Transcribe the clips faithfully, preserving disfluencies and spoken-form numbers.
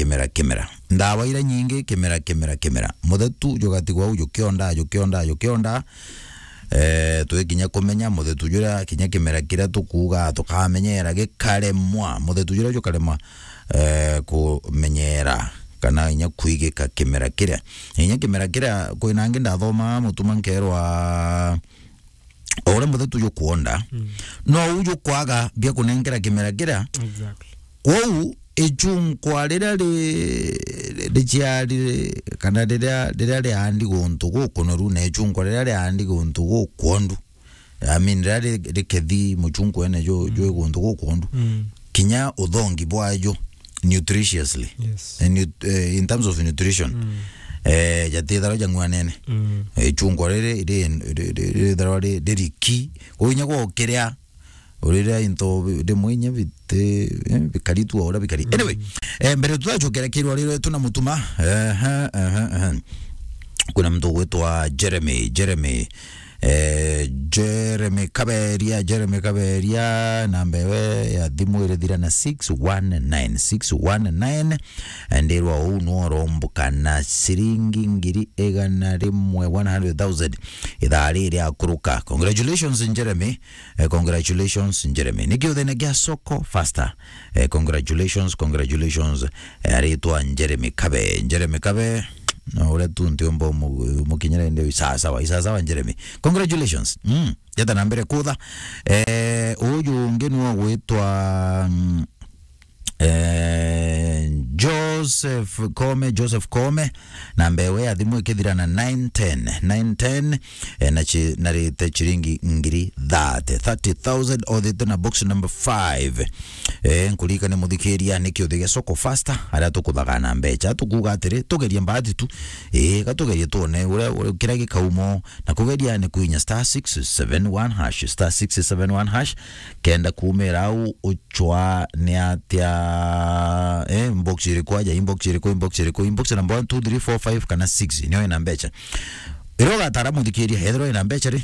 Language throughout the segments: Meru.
kimera, kimera. Ndawa iria nyingi, kimera, kimera, kimera. Muthetu jugatigwa au jukionda, jukionda, jukionda. Eh, twi kinya kumenya muthetu juria kinya kimera kiria tukuuga tukamenyera gikaremwa. Muthetu juria jukaremwa, eh, kumenyera kana inya kuigika kimera kiria. Inya kimera kiria, kwina angi ndathomaa Mutuma nkerwa, o uria muthetu jukwonda, mm, no u jukwaga bia kunenkera kimera kiria. Exactly. Kwou ichunkwa riria ri-, riciari, kana riria, riria riandi guntu gukunoru, na ichunkwa riria riandi guntu gukwondu, I mean, riria ri-, rikethi muchunkwa ene ju-, mm, jwi guntu gukwondu, mm, kinya uthongi bwajo nutriciously. Yes. Eh, nut-, eh, in terms of nutrition, mm, eh, jatithagwa jang'uanene. Mm. Eh, ichunkwa riri ri-, ri-, ri-, rithagwa ri-, ririki. Kwou inya gwa ukiria, uriria into bi-, rimwe inya biti, eh, bikari tu o uria bikari. Mm. Anyway, eh, mbere tutacukira kirwa riri tuna Mutuma. Ehe, ehe, ehe. Kwina muntu ugwitwa Jeremy, Jeremy. Eh, Jeremy Kaberia, Jeremy Kaberia, namba ewe ya thimu irithira na six one nine, six one nine. Ndirwa uu nu uromboka na ciringi ngiri igana rimwe, one hundred thousand, ithaa riri akuruka. Congratulations, Jeremy. Eh, congratulations, Jeremy. Niki uthene gia soko faster? Eh, congratulations, congratulations. Eh, aritwa Jeremy Kabe. Jeremy Kabe, no, uria tu ntiumba umu-, umukinyira indi uyu. Sawa sawa, sawa sawa, Jeremy. Congratulations. Mm. Jeta na mbere kutha. Eh, uyu ungi niwe ugwitwa, mm, eh, Joseph Kome, Joseph Kome, namba ewe ya thimu ikithira na nine ten, nine ten, eh, na chi-, narite chiringi ngiri thirty, thirty thousand, othite na box number five. Eh, nkuririkane muthikiria, niki uthige soko faster, aria tukuthaga na mbecha. Tukuuga atiri, tugerie mbati tu. Eh, ga tugerie tuone uria, uria kiria gikaumo, na kugeria ni kuinya star six seven one hash, star six seven one hash, kenda kumira au uchwa ni atia, eh, inbox iriku aja, inbox iriku, inbox iriku, inbox number one, two, three, four, five kana six, nio ina mbecha. Iria ugatara muthikiria, ethirwa ina mbecha ri,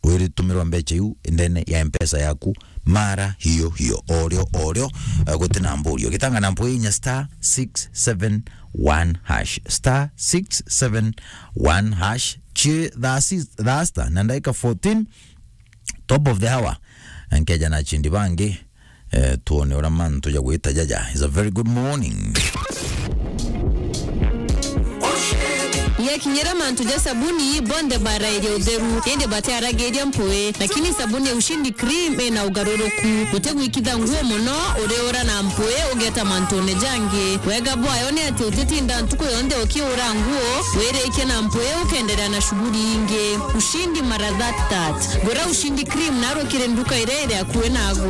wiritumirwa mbecha iu ndene ya Mpesa yaku mara hiyo hiyo, orio, orio, eh, gutina mburio. Gitanga na mpwe inya star six seven one hash, star six seven one hash. Chi thaa si-, thaa sita na ndagika fourteen, top of the hour. Nkeja na chindi bangi, eh, tuone uria mantu ja gwita jaja. It's a very good morning. Yakinyira mantu ja sabuni, bonthe barairia utheru, indi batiaragiria mpui, lakini sabuni ya Ushindi Cream ina ugaruruku. Utigwikitha nguo mono, uriura na mpui, ugeta mantune jangi. Wega bwayo ni ati utitinda ntuku yonthe ukiura nguo, wirikia na mpui, ukenderea na shughuli ingi. Ushindi mara that that. Gura Ushindi Cream narukire nduka iria iri akui naagwe.